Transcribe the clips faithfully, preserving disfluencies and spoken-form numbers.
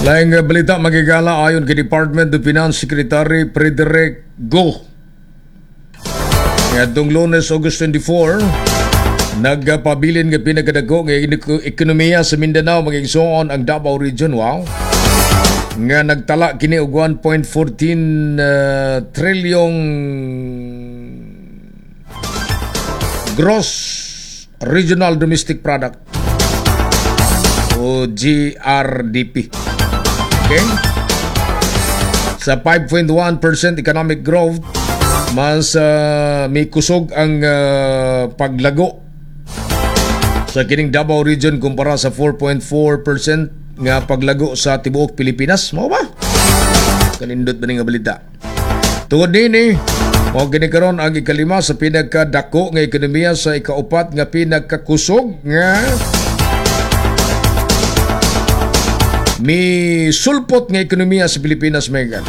Laing uh, balita, mga higala, ayon kay Department of Finance Secretary Frederick Go. Ngadtong Lunes, August twenty-four, nagpabilin nga pinakadako nga ekonomiya sa Mindanao, mga igsoon, ang Davao Region. Wow. Nga nagtala kini og one point one four uh, trilyong gross regional domestic product o G R D P. Okay? Sa five point one percent economic growth, mas uh, may kusog ang uh, paglago sa kining Davao Region kumpara sa four point four percent nga paglago sa tibuok Pilipinas. Mao ba? Kanindot ba ni nga balita? Tungod nini, mao kini karon ang ikalima sa pinakadako nga ekonomiya sa ikaupat nga pinakakusog nga mi sulpot nga ekonomiya sa Pilipinas, Megan.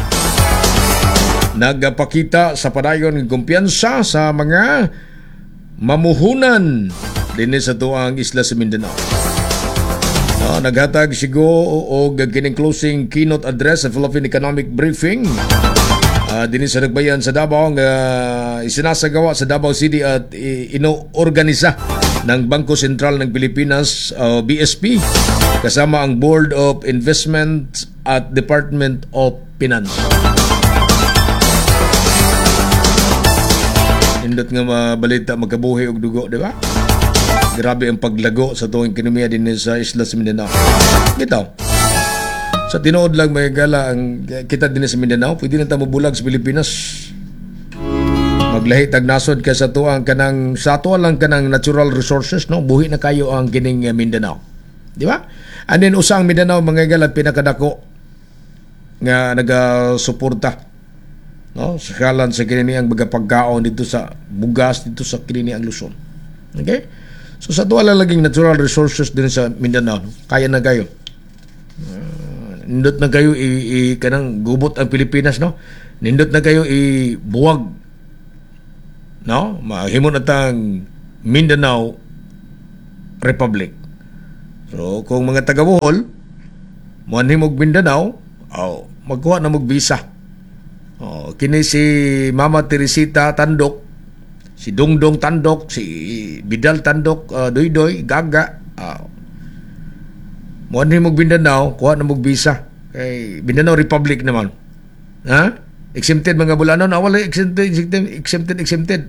Nagpakita sa padayon ng kumpiyansa sa mga mamuhunan dinhi sa tuang isla sa Mindanao. No, naghatag si Go og kining closing keynote address sa Philippine Economic Briefing Uh, dinhi sa Nagbayan sa Davao nga isinasagawa sa Davao City at inoorganisa ng Bangko Sentral ng Pilipinas uh, B S P kasama ang Board of Investment at Department of Finance. Nindot nga mabalita, magkabuhi og dugo, di ba? Grabe ang paglago sa tuong ekonomiya din sa isla sa Mindanao. Bitaw. Sa tinuod lang, mga higala, ang kita din sa Mindanao, pwede na ta mobulag sa Pilipinas. Maglahi tag nasod kay sa tuang kanang sa ato lang kanang natural resources, no, buhi na kayo ang kining eh, Mindanao. Di ba? And then usa ang Mindanao, mga higala, pinakadako nga nagasuporta, no, sa kalan sa kini ang mga pagkaon dito sa bugas dito sa kini ang Luzon. Okay? So sa tuwa lang laging natural resources din sa Mindanao, no? Kaya na kayo. Uh, nindot na kayo i, i kanang gubot ang Pilipinas, no? Nindot na kayo i buwag, no? Mahimo na tang Mindanao Republic. So kung mga taga Bohol moanhi og Mindanao, oh, magkuha na mog visa. Oh, kini si Mama Teresita Tandok, si Dongdong Tandok, si Bidal Tandok, uh, Doydoy, Gaga. Uh, moanhi mog Mindanao, kuha na mog visa. Kay Mindanao Republic naman. Ha? Exempted mga Bulanon, ah, wala exempted, exempted, exempted, exempted.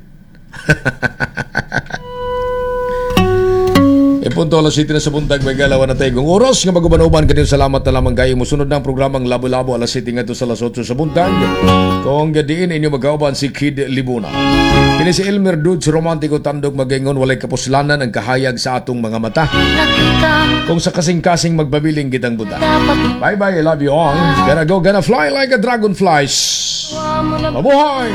E punto alas siyete na sa buntag, may galawan na tayo. Kung oras nga maguban-uban kanyo, salamat na lamang kayo. Musunod na ang programang Labo-Labo alas siyete ngadto sa alas otso sa buntag. Kung diin inyo magkauban si Kid Libuna. Kini si Elmer Dudes Romantiko Tandok magaingon, walay kapuslanan ang kahayag sa atong mga mata. Kung sa kasing-kasing magbabiling kitang buta. Bye-bye, I love you all. Gonna go, gonna fly like a dragonflies. Mabuhay!